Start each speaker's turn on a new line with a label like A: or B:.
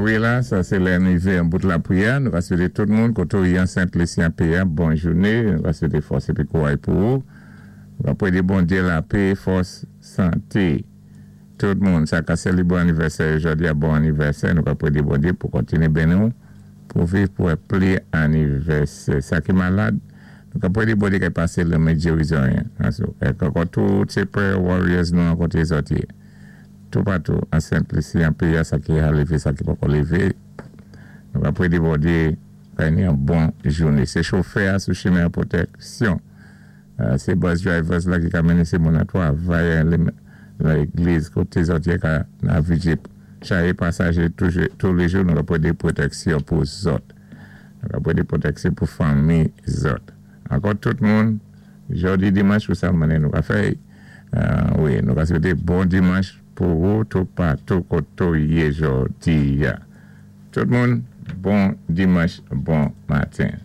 A: Wi la, sa sé lè nou wivé an bout lapriyè. Nou ka swété tout moun koté ou yé an Sent Lisi an péyi a bon jouné. Nou ka swété fòs épi kouray pou ou. Nou ka pwédé Bondyé lapé, fòs, santé. Tout moun sa ka sélébré anivèsè yo jòdi a bon anivèsè. Nou ka pwédé Bondyé pou kontiné béni ou pou viv pou wè pli anivèsè. Sa ki malad, nou ka pwédé Bondyé kay pasé lanmen gérizon an sou. Èk ankò tout sé prayer warriors nou an koté zòt yé. Toupatou an Sent Lisi an péyi a sa ki ha lévé sa ki poko lévé nou ka pwédé Bondyé bay ni an bon jouné. Sé chofè a sou chimen an pwotèksyon. Sé bus drivers la ki ka mennen sé moun an twavay lan légliz koté zòt yé ka navigé chayé pasajé toulé jou. Nou ka pwédé pwotèksyon pou zòt. Nou ka pwédé pwotèksyon pou fanmi zòt. Ankò tout moun, jòdi dimanch pou sa mané nou ka fè. Wi, nou ka swété bon dimanch pou ou toupatou koté ou yé jòdi a. Tout moun, bon dimanch, bon maten.